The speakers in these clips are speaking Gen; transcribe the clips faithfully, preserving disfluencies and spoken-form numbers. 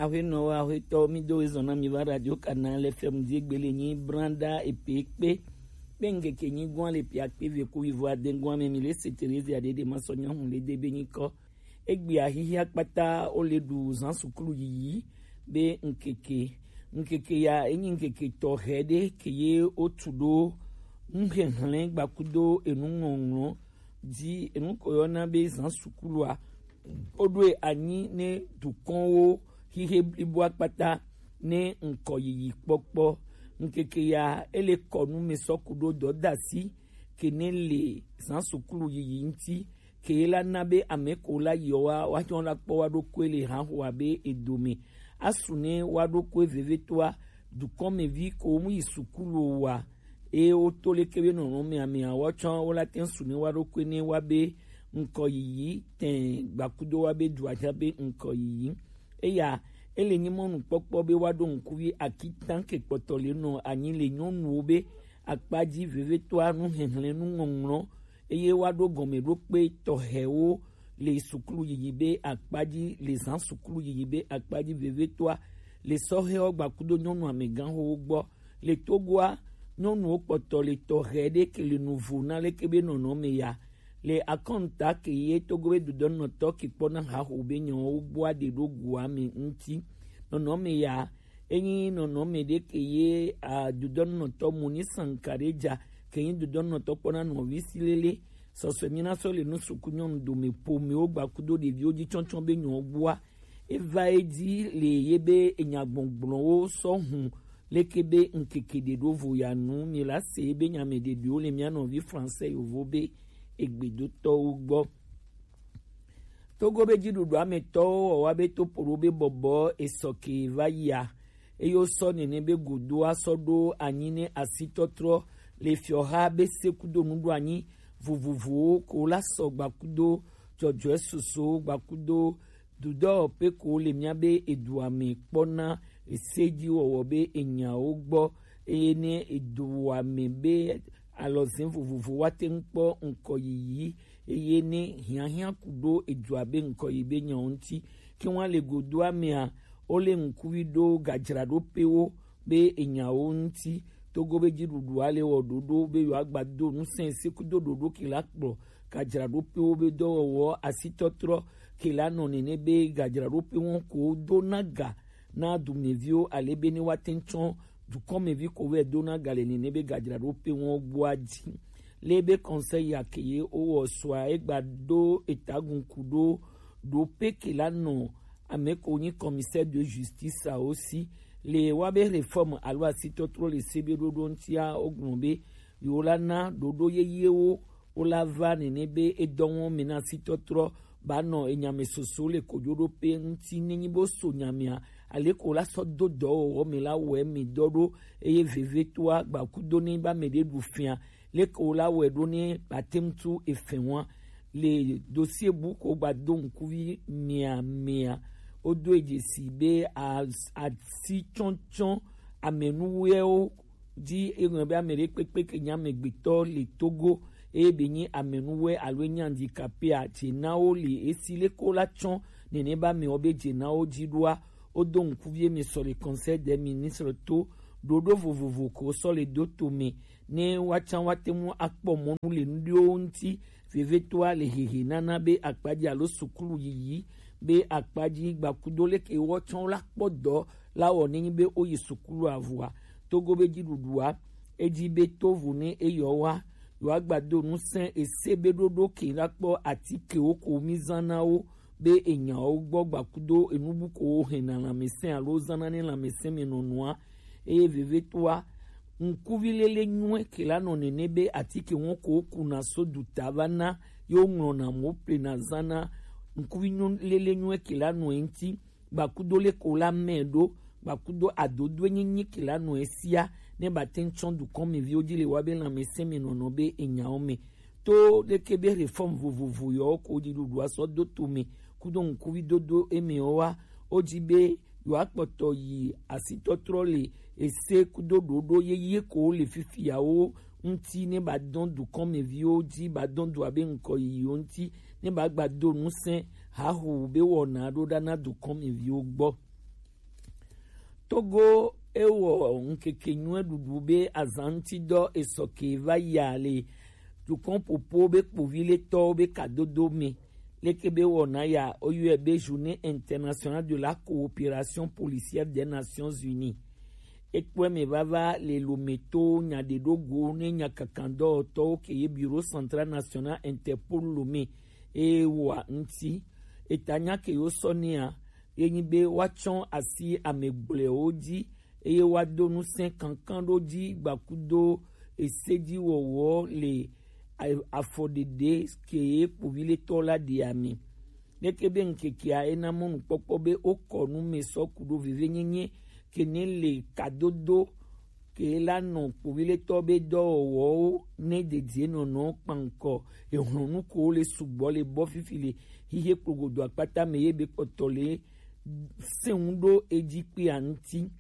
Aƒenɔwo, aƒetɔwo, mi do ezɔn na mi va Radio Canal F M di egbele nyi branda epe kpe. Kpe ŋkeke nyi gwan le pia kpe ve ku wivo aden gwan me mi le se Terezia de de ma sɔ nyɔnu le de be nyi kɔ. Egbe ahihia kpata o le ɖu zan sukulu yiyi be ŋkeke. Ŋkeke ya enyi ŋkeke tɔxɛ ɖe ke ye o tu ɖo nuxexlẽ gbakudo enu ŋɔŋlɔ di enu ko yɔna be zan sukulua. O ɖo e anyi ne dukɔnwo xixe blibo akpata ne ŋkɔ yiyi kpɔkpɔ. Ŋkeke ya ele kɔnu me sɔ ku ɖo dɔdasi ke ne le zan sukulu yiyi ŋti ke la na be ame ko la yi wa wa tsɔ la kpɔ wa ɖo koe le hã ho abe edome. Asu ne wa ɖo koe vevetoa dukɔn me vi ko mu yi sukulu wa. Eye woto leke be nɔnɔme amea woatsɔ wo la te ŋu su ne woaɖokui ne woabe ŋkɔ yiyi tẽ gbakudo woabe dua tsã be ŋkɔ yiyi. Eya ele nyi mɔnukpɔkpɔ be woaɖo ŋkuvi akitã ke kpɔtɔ le nɔ anyi le nyɔnuwo be akpa dzi vevetoa nuxexlẽ nuŋɔŋlɔ eye woaɖo gɔmeɖokpe tɔxɛwo le sukulu yiyi be akpa dzi le zã sukulu yiyi be akpa dzi vevetoa le sɔhɛwo gbakudo nyɔnu amegãxowo gbɔ. Le Togoa, nyɔnuwo kpɔtɔ le tɔxɛ ɖe ke le nuvo na leke be nɔnɔme ya. Le akɔnta ke ye Togo be dudɔnɔtɔ ke kpɔna haxo be nyawo gbɔa ɖe ɖo goa me ŋti. Nɔnɔme ya, enyi nɔnɔme ɖe ke ye a dudɔnɔtɔ Moni Sankareja ke nyi dudɔnɔtɔ kpɔna nɔvi si lele. Sɔsɔe mi na sɔ le nu suku nyɔnu dome pomewo gbakudo ɖeviwo dzi tsɔtsɔ be nyawo gbɔa. Eva edzi le ye be enyagbɔgblɔwo sɔ hun leke be ŋkeke ɖe ɖo vo ya nu mi la se be nyame ɖeɖewo le mia nɔvi français yovo be egbedotɔwo gbɔ. Togo be dziɖuɖua me tɔwo wɔwa be topoɖo be bɔbɔ esɔke va yia eye wosɔ nene be godoa sɔ ɖo anyi ne asitɔtrɔ le fiɔha be sekudo nuɖoanyi vovovowo ko la sɔ gbakudo dzɔdzɔe susu gbakudo dudɔ pe ko le mia be edua me kpɔna ese dzi wɔwɔ be enyawo gbɔ eye ne edua me be alɔzẽ vovovo woate ŋu kpɔ ŋkɔ yiyi eye ne hiahiã ku ɖo edua be ŋkɔ yi be nyawo ŋuti. Ke woa le godoa mea, wole ŋkuvi ɖo gadzraɖoƒewo be enyawo ŋuti. Togo be dziɖuɖua le wɔ ɖoɖo be yewoagba do ŋusẽ sekudo ɖoɖo ke la kplɔ gadzraɖoƒewo be dɔwɔwɔ asitɔtrɔ ke la nɔ nene be gadzraɖoƒe wɔn ko dona ga na dumeviwo ale be ne woate ŋu tsɔ dukɔmevi ko vɛ dona ga le nene be gadzraɖoƒe wɔn gbɔa dzi. Le be conseil ya ke ye wowɔ sɔa egba ɖo etagun ku ɖo ɖo pe ke la nɔ ame ko nyi commissaire de justice awo si le wa be réforme alo asitɔtrɔ le se be ɖoɖo ŋutia wogblɔ be yewo la na ɖoɖo yeyewo wola va nene be edɔ wɔm me na asitɔtrɔ ba nɔ enyame soso le kojoɖoƒe ŋuti nenyi bo so nyamea ale ko la sɔ do dɔwɔwɔ me la wɔe me dɔ ɖo eye vevetoa gbakudo ne ba me ɖe ɖu fia leke wo la wɔe ɖo ne bate ŋu tu efɛ wa le dossier bu ko gba do ŋkuvi mia mia wodo edzesi be as- asi tsɔtsɔ amenuwɛwo dzi eŋlɔ be ame ɖe kpekpe ke nye amegbetɔ le Togo eye be nyi amenuwɛ alo enye handicapé a dze na wo le esi leke wo la tsɔ nene be amewo be dze na wo dzi ɖoa wodo ŋkuvi eme sɔ le conseil des ministres to ɖoɖo vovovo ko sɔ le do to me ne woatsã woate ŋu akpɔ mɔnu le nuɖewo ŋuti vevetoa le hehe nana be akpadzi alo sukulu yiyi be akpadzi gbakudo leke woatsã wo la kpɔ dɔ la wɔ nenyi be woyi sukulu avɔa. Togo be dziɖuɖua edzi be tovo ne eyɔ wa yewoagba do ŋusẽ ese be ɖoɖo ke la kpɔ atikewo ko mi zã na wo be enyawo gbɔ gbakudo enubu ko wo hɛna lãmesẽ alo zãna ne lãmesẽ me nɔnɔa eye vevetoa ŋkuvi lele nyuie ke la nɔ nene be atike wɔn ko wo kuna so duta va na ye wo ŋlɔna mo plena zã na ŋkuvi nyo- lele nyuie ke la nɔ eŋti gbakudo le ko la mɛ ɖo gbakudo adodoe nyinyi ke la nɔ esia ne ba te ŋu tsɔ dukɔmeviwo dzi le wa be lãmesẽ me nɔnɔ be enyawo me to leke be réforme vovovo yɔwo ko dziɖuɖua sɔ do to me kudo ŋkuvi dodo eme wa wo dzi be yewoakpɔtɔ yi asitɔtrɔ le ese kudo ɖoɖo yeye ko le fifiawo ŋuti ne ba dɔn dukɔmeviwo dzi ba dɔn du abe ŋkɔ yiyiwo ŋuti ne ba gba do ŋusẽ haho be wɔna ɖo ɖa na dukɔmeviwo gbɔ. Togo ewɔ ŋkeke nyuie ɖuɖu be azan ŋuti dɔ esɔ ke va ya le dukɔn popo be kpovi le tɔwo be kadodo me. Leke be wɔna ya oyɔe be Journée internationale de la coopération policière des Nations Unies. Ekpɔe me vava le lometo nya ɖe ɖo go ne nya kankan dɔwɔtɔwo ke ye Bureau Central National Interpol Lomé eye wɔa ŋuti. Eta nya ke yo sɔ nea ye nyi be woatsɔ asi ame gblɔewo dzi eye woado ŋusẽ kankan ɖo dzi gbakudo esedziwɔwɔ le a- afɔɖeɖe ke ye kpoviletɔ la ɖi ame. Leke be ŋkekea ena mɔnukpɔkpɔ be wokɔ nu me sɔ ku ɖo vevenyenye ke ne le kadodo ke la nɔ kpoviletɔ be dɔwɔwɔwo ne dedie nɔnɔ kpankɔ ehlɔnu ko le sugbɔ le bɔ fifi le hihe kplogodo akpata me ye be kpɔtɔ le sɛŋu ɖo edzi kpea ŋuti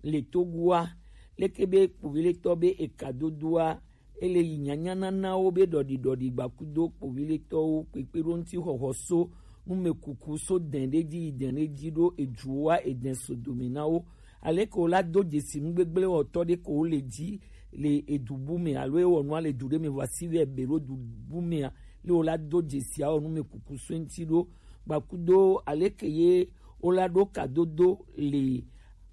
le Togoa. Leke be kpoviletɔ be ekadodoa ele yi nyanya nanawo be ɖɔɖiɖɔɖi gbakudo kpoviletɔwo kpekpe ɖo ŋuti xɔxɔ so numekuku so dɛn ɖe dzi yi dɛn ɖe dzi ɖo eduwoa edɛn so dome na wo. Aleke wo la do dzesi nu gbegblẽ wɔtɔ ɖe ko wo le dzi le edu bu me alo ewɔ nua le du ɖe me vɔ asi vɛ be ɖo du bu mea le wo la do dzesi awɔ numekuku so ŋuti ɖo gbakudo aleke ye wo la ɖo kadodo le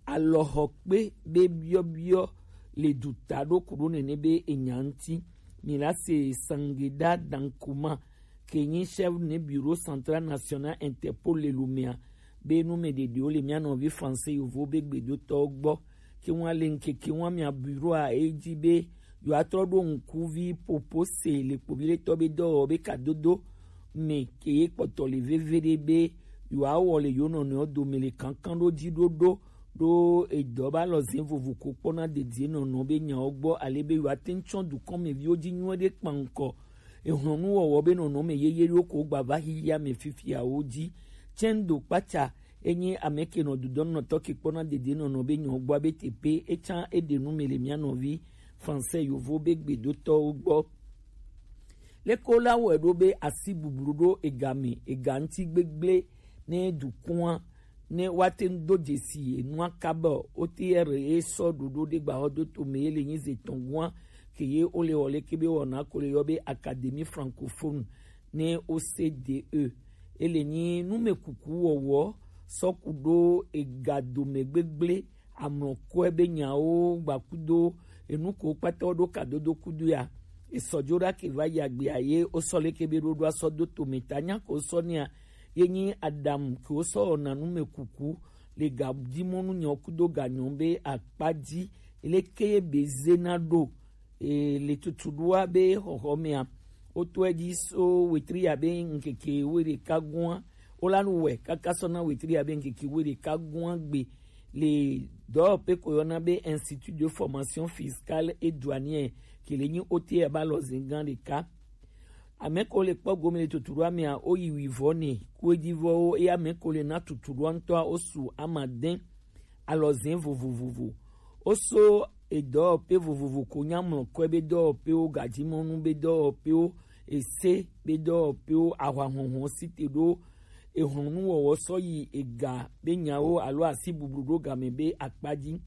alɔxɔkpe be biɔbiɔ le duta ɖo ku ɖo nene be enya ŋuti. Mi la se Sangeda Dankuma ke nyi chef ne Bureau Central National Interpol le Lomea be nu me ɖeɖewo le mía nɔvi français yovo be gbedotɔwo gbɔ ke ŋua le ŋkeke ŋua mia bureau a edzi be yewoatrɔ ɖo ŋkuvi popo se le kpoviletɔ be dɔwɔwɔ be kadodo me ke ye kpɔtɔ le veve ɖe be yewoawɔ le yewo nɔnɔewo dome le kankan ɖo dzi ɖoɖo ɖo edɔ ba lɔ zɛn vovo ko kpɔna dedie nɔnɔ be nyawo gbɔ ale be yewoate ŋu tsɔ dukɔmeviwo dzi nyuie ɖe kpankɔ ehlɔnuwɔwɔ be nɔnɔme yeye ɖewo ko gba va xexea me fifiawo dzi. Tsɛndo kpatsa enye ame ke nɔ dudɔnɔtɔ ke kpɔna dede nɔnɔ be nyɔ gbɔ be teƒe etsã eɖe nu me le mía nɔvi français yovo be gbedotɔwo gbɔ. Leke wo la wɔe ɖo be asi bublu ɖo ega me ega ŋuti gbegblẽ ne dukɔa ne woate ŋu do dzesi enua kaba o. O T R ye sɔ ɖoɖo ɖe gbaxɔdoto me ye le nyi ze tɔn gua ke ye wo le wɔ leke be wɔna ko le yɔ be Académie francophone ne O C D E. Ele nyi numekuku wɔwɔ sɔ ku ɖo ega dome gbegblẽ amlɔkɔe be nyawo gbakudo enu ko kpata wo ɖo kadodo kudo ya. Esɔ dzo ɖa ke va yi agbea ye wo sɔ leke be ɖoɖoa sɔ do tome ta nya ko sɔ nea ye nyi aɖaŋu ke wosɔ wɔna numekuku le ga dzi mɔnu nyawo kudo ga nyɔwo be akpa dzi leke ye be zena ɖo e, le tutuɖoa be xɔxɔ mea wotɔe dzi so wetri ya be ŋkeke wuiɖeka gua wo la nu wɔe kaka sɔ na wetri ya be ŋkeke wuiɖeka gua gbe le dɔwɔƒe ko yɔna be Institut de Formation Fiscale et Douanière ke le nyi O T R ba lɔ zin gã ɖeka. Ame ko le kpɔ gome le tutuɖoa mea wo yi wuivɔ ne kuedivɔwo eye ame ko le na tutuɖoa ŋutɔa wo su amadɛn alɔzɛn vovovovo. Wo so edɔwɔƒe vovovo ko nya mlɔkɔe be dɔwɔƒewo gadzimɔnu be dɔwɔƒewo ese be dɔwɔƒewo ahwahɔhɔ si te ɖo ehlɔnuwɔwɔ sɔ yi ega be nyawo alo asi bublu ɖo game be akpa dzi.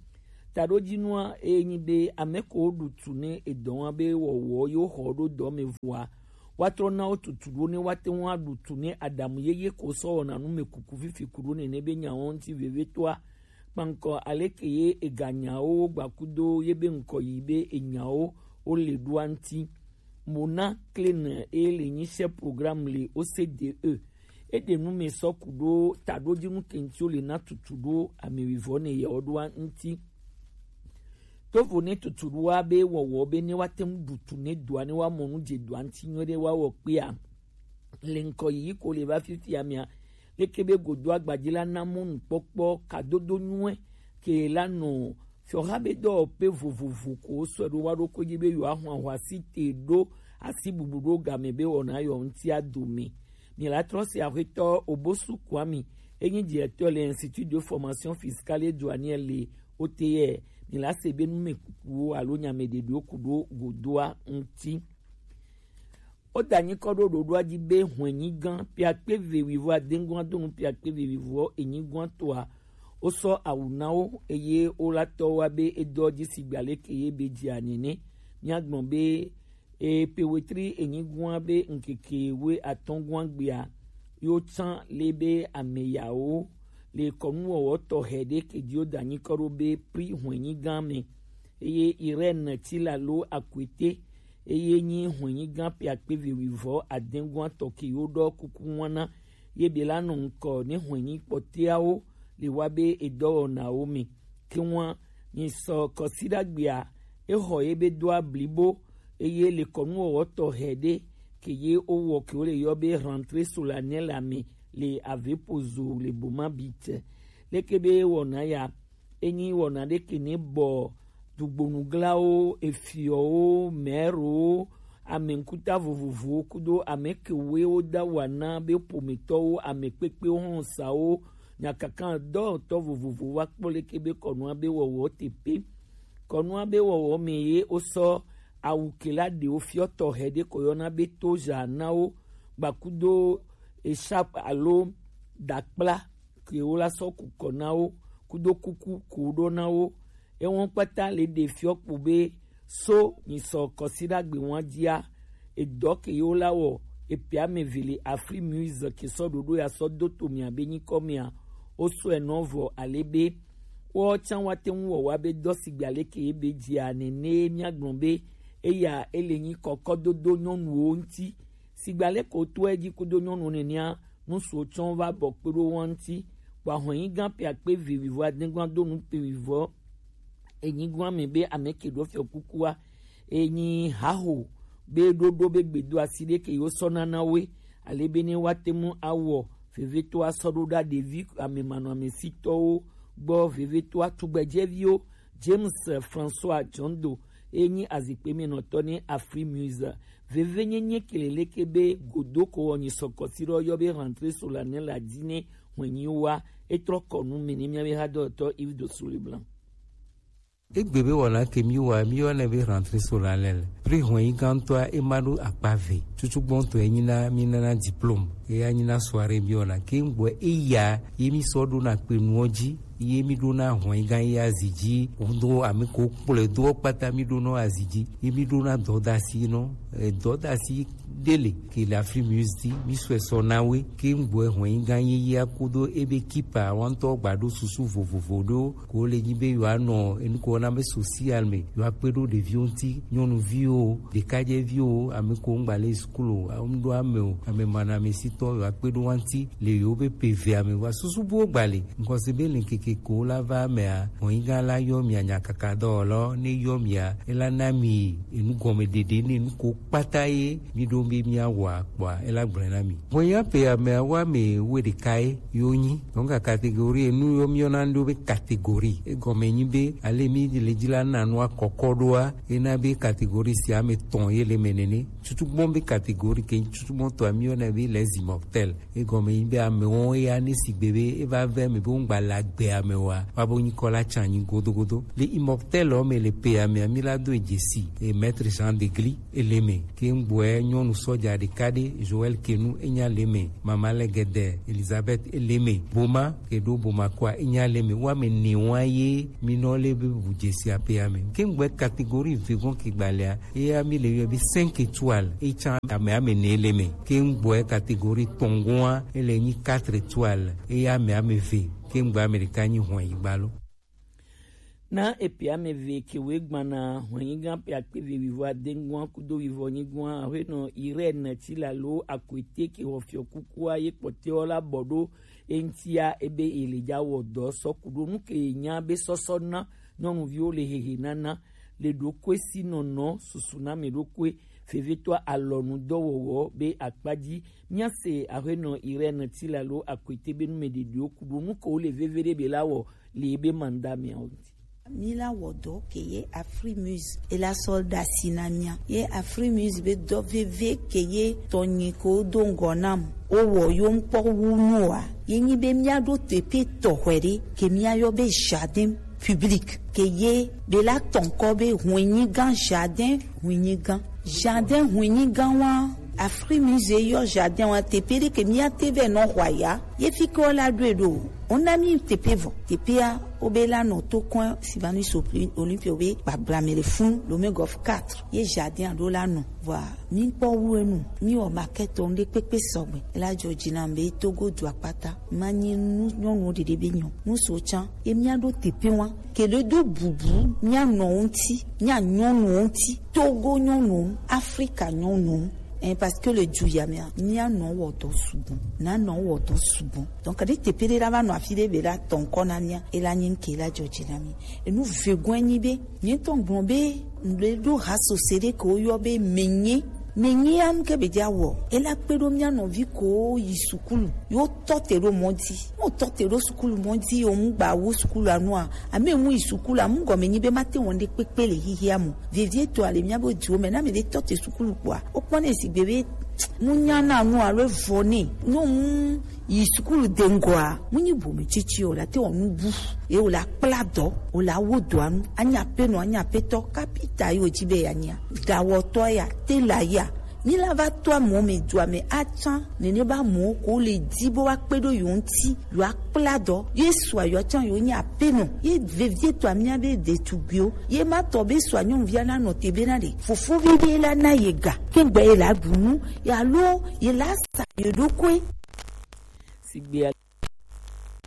Taɖodzinua eye nyi be ame ko ɖu tu ne edɔ wa be wɔwɔ yewo xɔ ɖo dɔ me vɔa woatrɔ na wo tutu ɖo ne woate ŋu aɖu tu ne aɖamu yeye ko sɔ wɔna nu me kuku fifi ku ɖo nene be nyawo ŋuti vevitɔa kpankɔ aleke ye eganyawo gbakudo ye be ŋkɔ yi be enyawo wo le ɖoa ŋuti. Mona Klein eye le nyi chef programme le O C D E. Eɖe nu me sɔ ku ɖo taɖodzinu ke ŋuti wo le na tutu ɖo ame wuivɔ ne yewo ɖoa ŋuti. Tovo ne tutuɖoa be wɔwɔ be ne woate ŋu ɖu tu ne dɔa ne woamɔ nu dze dɔa ŋuti nyuie ɖe woawɔ kpea le ŋkɔ yiyi ko le va fifia mea leke be godo agbadzi la na mɔnukpɔkpɔ kadodo nyuie ke la nɔ fiɔha be dɔwɔƒe vovovo ko sɔe ɖo wa ɖo ko dzi be yewoaxɔ ahɔ asi te ɖo asi bublu ɖo game be wɔna yɔ ŋutia dome. Mi la trɔ se axetɔ Obosu Kwame enyi directeur le Institut de Formation Fiscale et Douanière le O T R. Mi la se be numekukuwo alo nyameɖeɖewo ku ɖo godoa ŋuti. Woda nyikɔ ɖo ɖoɖoa dzi be hwɛnyigã piakpe ve wivɔ adeŋgɔa do nu piakpe ve wivɔ enyigɔa toa Wo sɔ awu na wo, eye wo la tɔ wa be e dɔ ji sigba leke ye be ji a nene. Mia gbɔn be e pe wetri enyi gua be nkeke we atɔn gua gbea, yo can le be ame yawo le kɔnu wɔwɔ tɔxɛ ɖe ke ji wo da nyikɔ ɖo be pri hwɛnyi gan me. Eye Irene Tilalo Akwete, eye nyi hwɛnyi gan pe akpe ve wivɔ adɛn gua tɔ ke yo ɖɔ kuku wana ye be la nɔ ŋkɔ ne hwɛnyi kpɔtɛawo le wa be edɔwɔnawo me. Ke ŋua, nyi sɔ kɔsiɖagbea, e xɔ ye be do ablibo, eye le kɔnu wɔwɔ tɔxɛ ɖe ke ye wo wɔ ke wo le yɔ be rentrée solennelle ame le Avepozo le Boma Beach. Leke be wɔna ya, enyi wɔna ɖe ke ne bɔ dugbonuglawo, efiɔwo, mɛrowo, ame ŋkuta vovovowo kudo ame kewoe wo da wa na be ƒometɔwo, ame kpekpewo, xlɔsawo, nyakakan dɔwɔtɔ vovovowo wa kpɔ leke be kɔnua be wɔwɔ te pe. Kɔnua be wɔwɔ me ye wo sɔ awu ke la ɖewo fiɔ tɔxɛ ɖe ko yɔna be toza na wo, gbakudo echarpe alo dakpla ke wo la sɔ ku kɔ na wo, kudo kuku ko ɖo na wo. Ewo kpata le ɖe fiɔ kpo be so nyi sɔ kɔsiɖagbe wan jia, edɔ ke ye wo la wɔ, epe ame ve le Afri Muse ke sɔ ɖoɖo ya sɔ do to mia be nyikɔ mea, wo sɔe nɔ vɔ ale be wo can wa te ŋu wɔ wa be dɔ sigba leke ye be jia nene mia gblɔ be eya ele nyi kɔkɔdodo nyɔnuwo ŋuti. Sigba leke wo to edzi kudo nyɔnuwo nenea, nusuwo tsɔ va bɔ kpe ɖo wo ŋuti. Kpɔ ahɔnyi gã pe akpe ve wivɔ adegua do nu pe wivɔ enyigba me be ame ke ɖo fiɔ kukua, enyi haho be ɖoɖo be gbedo asi ɖe ke yo sɔ nana woe, ale be ne wa te mu awɔ veveto asɔ ɖo ɖa ɖevi ame manɔ ame sitɔwo gbɔ, veveto atugbedzeviwo. James François Jondo, enyi azikpe me nɔtɔ ne Afri Muse. Veve nyenye ke le leke be godoko wɔ nyi sɔkɔ si ɖɔ yɔ be rentrée solennelle la di ne hwenyi wa, etrɔ kɔ nu me ne mia be hadɔtɔ Yves de Souliblanc. Egbe be wɔna ke mi wa mi yɔ ne be rentrée solennelle. Pri hwenyi gãtɔa ema ɖo akpa ve. Tutu gbɔntɔ enyi na mi nana diplôme. Eya nyi na soirée mi wɔna ke ŋgbɔ eya ye mi sɔ ɖo na kpe nuɔ dzi. Ye mi ɖo na hɔn yi gã ye azi dzi. Ŋdo ame ko kplɔe do kpata mi ɖo nɔ azi dzi. Ye mi ɖo na dɔdasi nɔ, e, dɔdasi ɖe le ke le Afri Muse dzi. Mi sɔe sɔ na we ke ŋgbɔe hɔn yi gã ye ye akodo ebe kipa wantɔ gba ɖo susu vovovo ɖo ko le nyi be yewoa nɔ enu ko wɔna be social me yewoa kpe ɖo ɖeviwo ŋuti, nyɔnuviwo, ɖekadzeviwo, ame ko ŋgba le sukulu o, ŋɖo ame o, ame manɔamesitɔ yewoa kpe ɖo wa ŋuti le yewo be pe evea me. Wa susu buwo gba le. Ŋkɔse be le ŋkeke ko la va mea, hɔnyigã la yɔ mia nyakaka dɔwɔlɔ, ne yɔ mia, ela na mi enu gɔme ɖeɖe ne nu ko kpata ye mi ɖo be mia wɔa kpɔa, ela gblɔe na mi. Hɔnyigã pe amea wa me wo ɖeka ye yo nyi. Donc catégorie enu yo mi yɔna ɖo be catégorie. Egɔme nyi be ale mi le dzi la na nua kɔkɔ ɖoa, ena be catégorie sia ame tɔn ye le me nene. Tutugbɔn be catégorie ke tutugbɔn tɔ mi yɔna be les immortels. Egɔme nyi be amewo ya ne sigbe be eva ve me be ŋgba le agbe ame wa, wa bo nyikɔ la tsa nyi godogodo. Le immortel o me le pe ame ami la do dzesi e maître Jean Degli ele me. Ke ŋgbɔe nyɔnu sɔja ɖeka ɖe Joël Kenu enya le me, mama le gede Elizabeth ele me. Boma ke ɖo Boma kɔa enya le me. Wa me ne wa ye mi nɔ le be bu dzesi ape ame. Ke ŋgbɔe catégorie vegɔn ke gbalea Eya mi le yɔ be cinq étoiles, e tsa ame ame ne le me. Ke ŋgbɔe catégorie tɔngɔa, ele nyi quatre étoiles, eya ame ame ve. Ke ŋgbɔe ame ɖeka nyi hɔn yi gba lo. Na epe ame ve ke we gbana hɔn yi gã pe akpe ve wivɔ adengɔa kudo wivɔ nyigɔa, aƒenɔ Irène Tilalo Akwete ke xɔ fiɔ kukua ye kpɔtɛwo la bɔ ɖo eŋtia ebe ele dza wɔ dɔ sɔ ku ɖo nu ke nya be sɔsɔ na nyɔnuviwo le hehe nana le ɖokui si nɔnɔ susu na mɛ ɖokui vevietɔ alɔnu dɔwɔwɔ be akpa dzi. Míase aƒenɔ Irène Tilalo Akwete be numɛɖeɖewo ku ɖo nu ke wole veve ɖe be la wɔ le ebe manda mɛawo ŋuti. Mi la wɔ dɔ ke ye Afrimuse e la sɔ ɖasi na mia ye Afrimuse be dɔ veve ke ye tɔnyi ko do ŋgɔ nam o wɔ yo ŋkpɔ wu nu wa ye nyi be mia ɖo teƒe tɔxɛ ɖe ke mia yɔ be jardin public ke ye be la tɔn kɔ be hwenyigan jardin hwenyigan jardin hwenyigan wa Afrimuse yɔ jardin wa teƒe ɖe ke mia te vɛ nɔ xɔ ya ye fi ke wo la ɖoe ɖo Ona mi tepe vɔ. Tepea, obe la nɔ to kɔn Sylvanus Olympe obe gbagbla me le fun, Lomé Golf quatre. Ye jardin ado la nɔ. Vɔa, mi kpɔ wu enu, mi wɔ maquette ŋɖe kpekpe sɔgbe. Ela jɔ dzi na be Togo du akpata. Ma nyi nu nyɔnuwo ɖeɖe be nyɔ. Nu so can, ye mia ɖo tepe wa. Ke ɖe do bubu, mia nɔ ŋuti, mia nyɔnu ŋuti. Togo nyɔnu, Afrika nyɔnu. Eh, parce que le du ya mea, mia nɔ wɔ dɔ sugbɔ. Na nɔ wɔ dɔ sugbɔ. Donc, ɖe tepe ɖe la va nɔ afi ɖe be la tɔn kɔ na mia, ela nyi ŋke la jɔ dzi na mi. Enu vegɔe nyi be, mi tɔn gblɔ be, ŋɖe ɖo ha sose ɖe ke woyɔ be menye. Menye anu ke be dza wɔ. Ela kpe ɖo mia nɔvi ko yi sukulu. Yo tɔ te ɖo mɔ dzi. Mo tɔ te ɖo sukulu mɔ dzi, yo mu gba wu sukulu anua. Ame mu yi sukulu, amu gɔme nyi be ma te wɔn ɖe kpekpe le hihia mo. Vevie to ale mia be diwo me, na me ɖe tɔ te sukulu kpɔa. O kpɔ ne sigbe be, mu nya na nu alo vɔ ne. No mu yi sukulu de ŋgɔa, mu nyi bome tsitsi o la te wɔ nu bu. Ye o la kpla dɔ, o la wo dɔa nu. Anya pe no, anya pe tɔ, kapita yo dzi be ya nya. Dawɔtɔ ya, tela ya. Mi la va to amewo me dua me atsan, nene ba amewo ko le di bo wa kpe ɖo yo ŋuti, yo akpla dɔ. Ye sua yo atsan yo nyi apenɔ. Ye vevie to amia be ɖetugbiwo. Ye ma tɔ be sua nyɔnuvia na nɔ te be na ɖe. Fofovi ɖe la na ye ga. Kegbe ye la ɖu nu, ye alo ye la sa ye ɖokui. Sigbe